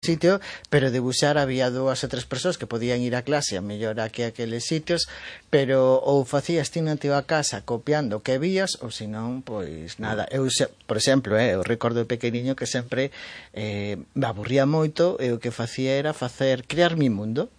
sitio, pero debuxar había 2 ou 3 persoas que podían ir a clase a mellor aquí a aqueles sitios, pero ou facías ti na tua casa copiando o que vías, ou senón, pois nada. Eu, por exemplo, eu recordo de pequeniño que sempre me aburría moito e o que facía era crear mi mundo,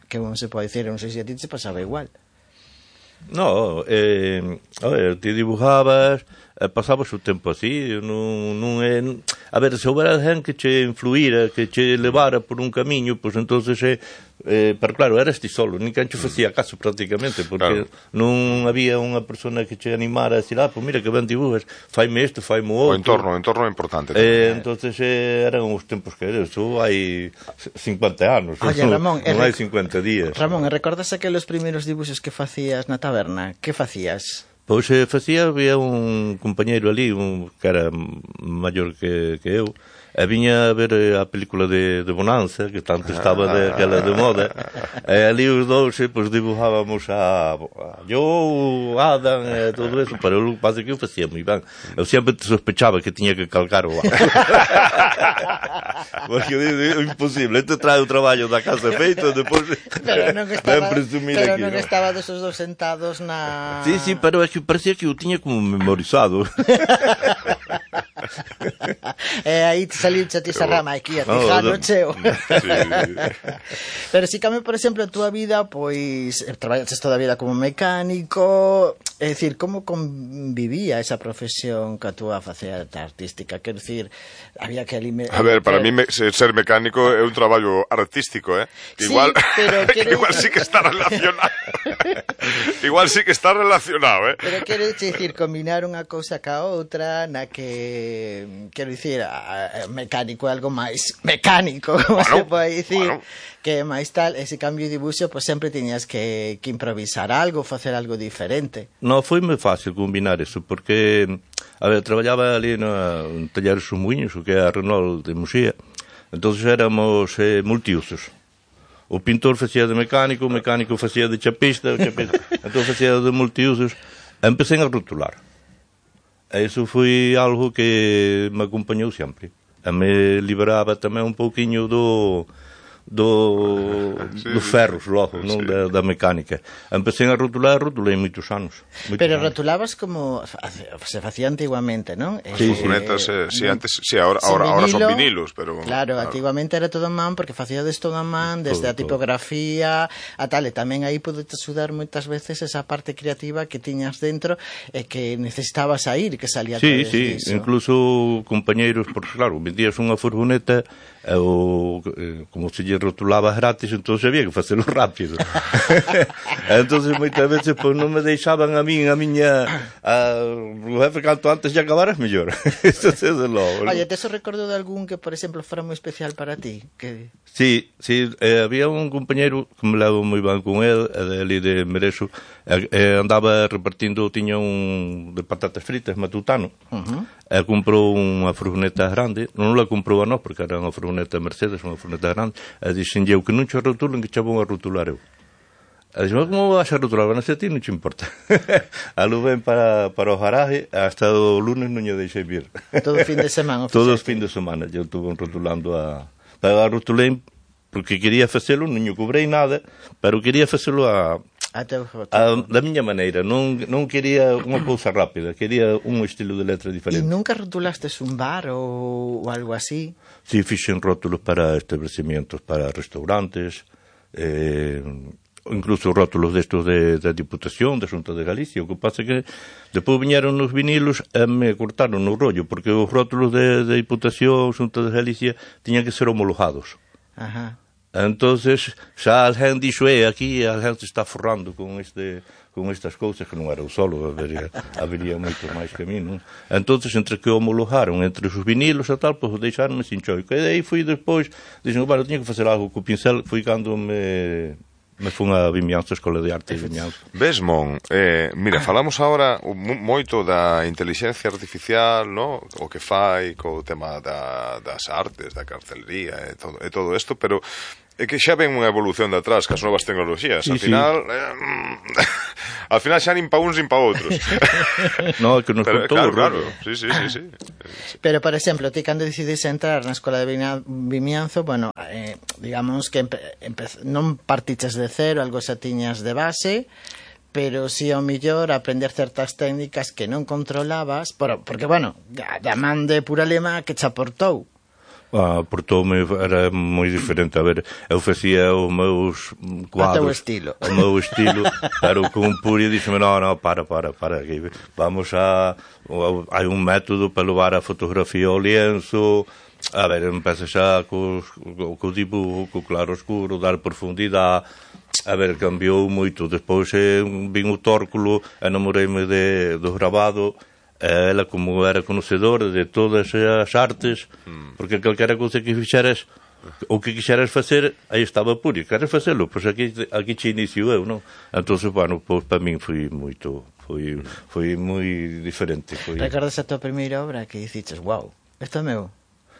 que non se pode dicir, non sei se a ti se pasaba igual. No, a ver, ti dibujabas, pasabas o tempo así, non é... A ver, se houbera alguén que che influíra, que che levara por un camiño, pois entonces pero claro, eras ti solo, nin quen che facía caso prácticamente, porque non había unha persona que che animara a decir, pois mira que ben dibujas, faime isto, faime o outro. O entorno é importante. Entonces eran os tempos que eso hai 50 anos, Oye, Ramón, non hai 50 días. Ramón, recordas aqueles primeiros dibuxos que facías na taberna? Que facías? Pois había un compañeiro ali, que era maior que eu, e viña a ver a película de Bonanza, que tanto estaba aquela de moda, e ali os dous pois dibujábamos a Joe, Adam, e todo eso, pero o que pasa é que eu facía moi ben. Eu sempre sospechaba que tiña que calcar o Adam. Porque é imposible, te trae o traballo da casa feito, depois ven presumir aquí. Pero non estaba dos dos sentados na... Sí, pero é que parecía que o tiña como memorizado. E aí saliu ti esa rama aquí a fijano cheo. Pero si cambio, por exemplo, a túa vida, pois traballaste toda a vida como mecánico, é dicir, como convivía esa profesión ca túa faceta artística? Quero dicir, había que alimentar... A ver, para mí ser mecánico é un traballo artístico, Igual, sí, igual sí que está relacionado. Igual sí que está relacionado, Pero quero dicir, combinar unha cousa ca outra, na que, quero dicir, mecánico é algo máis mecánico, como se pode dicir, que máis tal, ese cambio de dibuixo, pois sempre tiñas que improvisar algo, facer algo diferente. Non, foi moi fácil combinar eso, porque, a ver, traballaba ali no taller Sumuiños, o que é a Renault de Muxía, entón éramos multiusos. O pintor facía de mecánico, o mecánico facía de chapista, entón facía de multiusos. Empecé a rotular. Eso foi algo que me acompañou sempre. E me liberaba tamén un pouquiño dos ferros logo, non? Da mecánica. Empecé a rotulei moitos anos. Pero rotulabas como se facía antiguamente, non? Furgonetas, antes, ahora son vinilos, pero... Claro, antiguamente era todo a man, porque facíades todo a man, desde a tipografía, a tal, e tamén aí podete sudar moitas veces esa parte creativa que tiñas dentro e que necesitabas sair, que salía todo disso. Sí, incluso compañeiros, porque claro, vendías unha furgoneta, como se lle rotulaba gratis, entón había que facelo rápido. Entón moitas veces pois non me deixaban a miña o jefe canto antes de acabaras mellor. Oye, te recordo de algún que, por exemplo, fora moi especial para ti? Sí, había un compañeiro que me levo moi ben con el, ali de Merexo, andaba repartindo, tiña un de patatas fritas matutano, e comprou unha furgoneta grande, non la comprou a nós porque era unha furgoneta Mercedes, unha furgoneta grande, e dixen eu que non che rotulen, que che vou a rotular eu. E dixen, como vas a rotular? Bueno, se a ti non che importa. A luz ven para o garaje, hasta o lunes non lle deixei vir. Todo fin de semana? Todo fin de semana, eu estuve rotulando pero a rotulei porque quería facelo, non lle cobrei nada, pero quería facelo da miña maneira, non quería unha cousa rápida, quería un estilo de letra diferente. E nunca rotulastes un bar ou algo así? Si, fixen rótulos para establecimientos, para restaurantes, incluso rótulos destos da Diputación, da Xunta de Galicia. O que pasa é que depois viñeron os vinilos e me cortaron no rollo, porque os rótulos da Diputación, Xunta de Galicia, tiñan que ser homologados. Ajá. Entonces, xa alguén dixo, aquí alguén se está forrando con estas cousas, que non era o solo, habería moito máis que a mí, non? Entonces, entre que homologaron entre os vinilos e tal, pois deixaronme sin choico. E aí fui despois, dixen, bueno, tiña que facer algo co pincel, foi cando me fun a Vimianzo, a Escola de Arte de Vimianzo. Mon, mira, falamos agora moito da inteligencia artificial, no? O que fai co tema das artes, da carcelería e todo isto, pero É que xa ven unha evolución de atrás cas novas tecnologías. Al final... al final xa nin pa uns nin pa outros. No, é que nos contou. Claro. Sí. Pero, por exemplo, ti cando decides entrar na escola de Vimianzo, bueno, digamos que non partiches de cero, algo xa tiñas de base, pero si ao millor aprender certas técnicas que non controlabas, porque, bueno, da man de pura lema que che aportou. Portoume, era moi diferente. A ver, eu facía os meus cuadros, o meu estilo, pero con Puri dixeme, no, para, aquí, vamos hai un método para levar a fotografía ao lienzo. A ver, empeza xa co dibujo, co claro oscuro, dar profundidade. A ver, cambiou moito. Despois vin o tórculo, enamoreime do grabado. Ela, como era conocedora de todas as artes, porque calquera cousa que fixeras, o que quixeras facer, aí estaba Puri. Queres facelo? Pois aquí che inicio eu, non? Entón, bueno, pois para min foi moi diferente. Recordas a tua primeira obra que diciches, wow, isto é meu?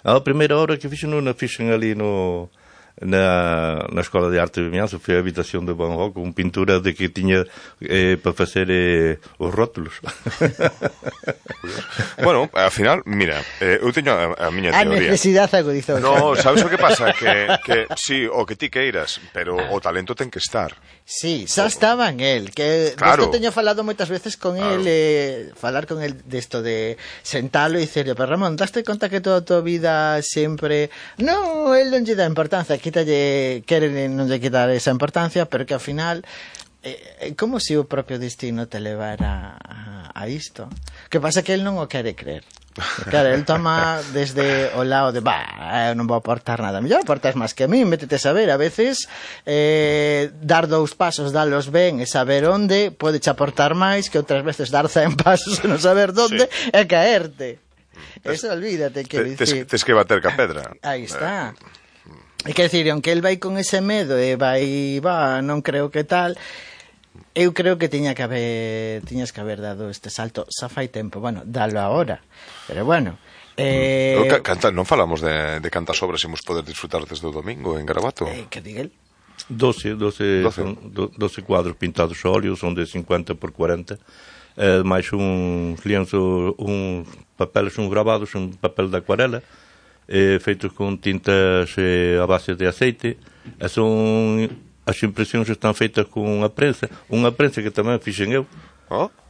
A primeira obra que fixen ali na Escola de Arte de Vimianzo foi a habitación de Van Gogh, con pintura de que tiña para facer os rótulos. Bueno, ao final, mira, eu teño a miña teoría. A necesidade agudizou. No, sabes o que pasa? Que sí, o que ti queiras, pero o talento ten que estar. Sí, xa estaba en el, que claro. Teño falado moitas veces con el, falar con el desto de sentalo e dicerle, pero Ramón, daste conta que toda a tua vida sempre... No, el non lle dá importancia, quere non lle quitar esa importancia, pero que ao final como se o propio destino te levara a isto. Que pasa que el non o quere creer. Claro, el toma desde o lado de eu non vou aportar nada, mellor aportas máis que a mí, métete a saber, a veces dar 2 pasos, dalos ben e saber onde pode che aportar máis que outras veces dar 100 pasos e non saber onde e caerte. Eso olvídate, que dicir. Tes que bater ca pedra. Aí está. É que decir, aunque el vai con ese medo e non creo que tal, eu creo que tiñas que haber dado este salto xa fai tempo, bueno, dalo agora, pero bueno. Non falamos de cantas obras imos poder disfrutar desde o domingo en Garabato? Que diga el? 12 cuadros pintados a óleo, son de 50 por 40, máis uns lienzos, uns papeles, uns grabados, un papel de acuarela, feitos con tintas a base de aceite, as impresións están feitas con unha prensa que tamén fixen eu,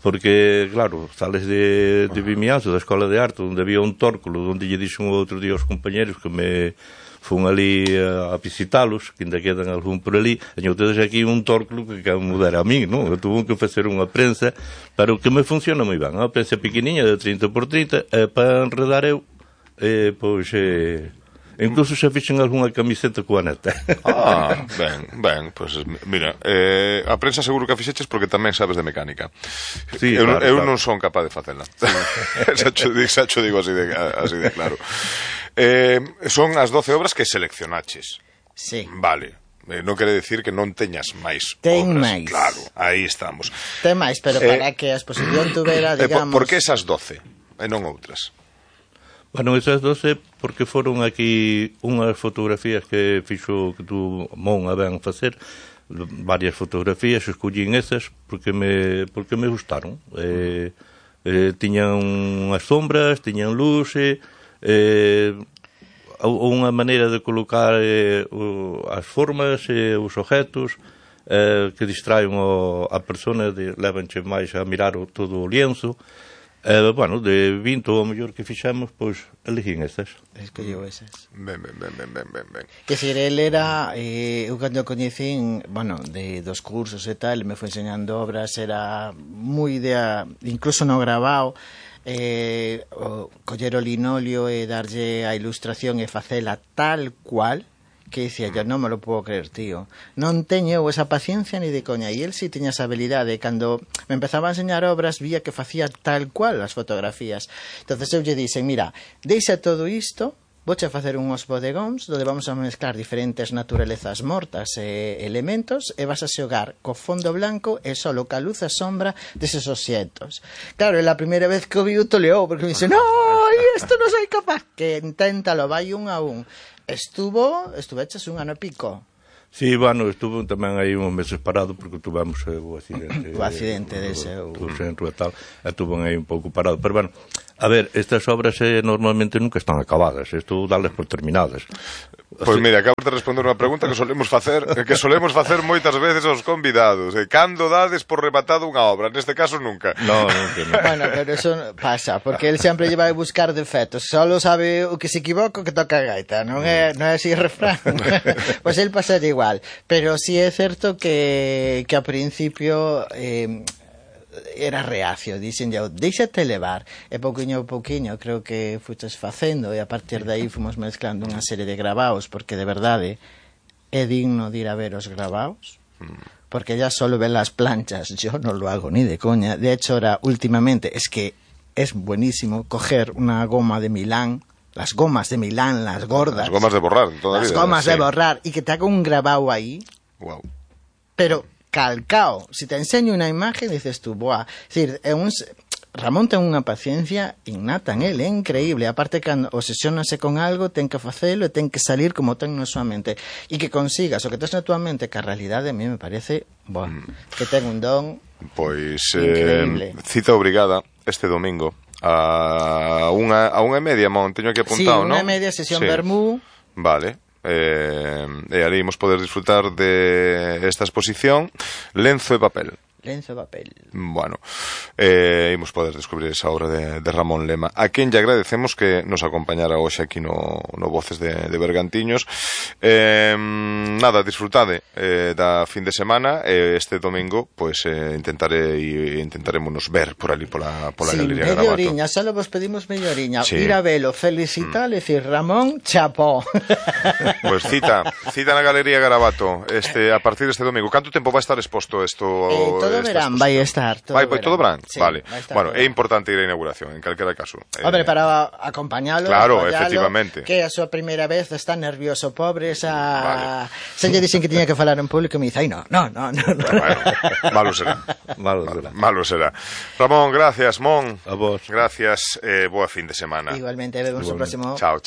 porque, claro, sales de Vimianzo, da Escola de Arte, onde había un tórculo, onde lle dixen outro día aos compañeros que me fun ali a visitalos, que ainda quedan algún por ali, e tedes aquí un tórculo que me mudar a mí, non? Eu tuve que facer unha prensa, pero que me funciona moi ben, unha prensa pequeniña de 30 por 30, para enredar eu, pois... incluso xa fixen algunha camiseta coa neta. Ben, pois mira, a prensa seguro que a fixeches porque tamén sabes de mecánica. Sí, eu claro. Non son capaz de facela. Xa cho digo así de claro. Son as 12 obras que seleccionaches. Sí. Vale. Non quere decir que non teñas máis Ten obras. máis. Claro, aí estamos. Ten máis, pero para que a exposición tuvera, digamos... Por que esas 12 e non outras? Bueno, esas 12 porque foron aquí unhas fotografías que fixo que tu mon a ben facer, varias fotografías, escollín esas porque me gustaron. Tiñan unhas sombras, tiñan luz, unha maneira de colocar as formas e os objetos que distraen a persona, levanche máis a mirar todo o lienzo. Bueno, de 20 ou mellor que fixemos, pois elegín esas. Escolleu esas. Ben. Que se el era, eu cando o coñecín, bueno, dos cursos e tal, me foi enseñando obras, era moi idea, incluso no grabado, coller o linolio e darlle a ilustración e facela tal cual, que dicía, yo non me lo puedo creer, tío. Non teño esa paciencia ni de coña. E el sí tiña esa habilidade. Cando me empezaba a enseñar obras, vía que facía tal cual as fotografías. Entonces eu lle dixen, mira, deixa todo isto, vouche a facer unhos bodegóns onde vamos a mezclar diferentes naturalezas mortas e elementos e vas a xogar co fondo blanco e só ca luz e sombra deses obxectos. Claro, é a primeira vez que o vi o toleou, porque me dice, no, isto non soy capaz. Que inténtalo, vai un a un. Estuveches un ano e pico. Sí, bueno, estuve tamén aí uns meses parado porque tuvemos o accidente. O accidente dese. O centro e tal, e tuve aí un pouco parado. Pero bueno, a ver, estas obras normalmente nunca están acabadas. Isto dales por terminadas. Pois mira, acabas de responder unha pregunta que solemos facer moitas veces aos convidados. Cando dades por rematado unha obra? Neste caso, nunca. No, nunca. Bueno, pero eso pasa, porque él sempre lle vai buscar defectos. Solo sabe o que se equivoca que toca a gaita. Non é así o refrán. Pois él pasa igual. Pero sí é certo que a principio... era reacio, dixen eu, deixate levar, e pouquiño a pouquiño creo que fuches facendo, e a partir de aí fomos mezclando unha serie de gravaos, porque de verdade é digno de ir a ver os gravaos, porque ya solo ven las planchas, yo no lo hago ni de coña. De hecho, ahora últimamente es que es buenísimo coger una goma de Milán, las gomas de Milán, las gordas, las gomas de borrar, las gomas de borrar, y que te haga un grabado ahí. Wow. Pero calcao, si te enseño una imagen dices tú, boa, es decir, Ramón ten unha paciencia innata en él, é increíble, aparte que obsesionase con algo, ten que facelo e ten que salir como ten na súa mente, e que consigas o que tes na túa mente, que a realidade a mí me parece, que ten un don increíble. Cita obrigada este domingo a unha e media, Mon, teño aquí apuntado, non? Sí, unha e media, sesión Bermú. Vale. E ali imos poder disfrutar de esta exposición Lenzo e papel. Lenzo e papel. Bueno, imos poder descubrir esa obra de Ramón Lema, a quen lle agradecemos que nos acompañara hoxe aquí no Voces de Bergantiños. Nada, disfrutade da fin de semana, este domingo pois intentaremos ver por ali pola Galería Garabato. Media oriña, só vos pedimos media oriña, ir a velo, felicitar, decir Ramón, chapó. Pois cita na Galería Garabato a partir deste domingo. Canto tempo vai estar exposto isto? Todo verán vai estar. Todo verán? Sí, vale. Bueno, todo. É importante ir á inauguración, en calquera caso. Hombre, para acompañalo, claro, efectivamente. Que a súa primeira vez está nervioso, pobre, se lle dixen que tiña que falar en público, me dice, ai, no. Bueno, malo será. Ramón, gracias, Mon. A vos. Gracias, boa fin de semana. Igualmente, vemos o próximo. Chao.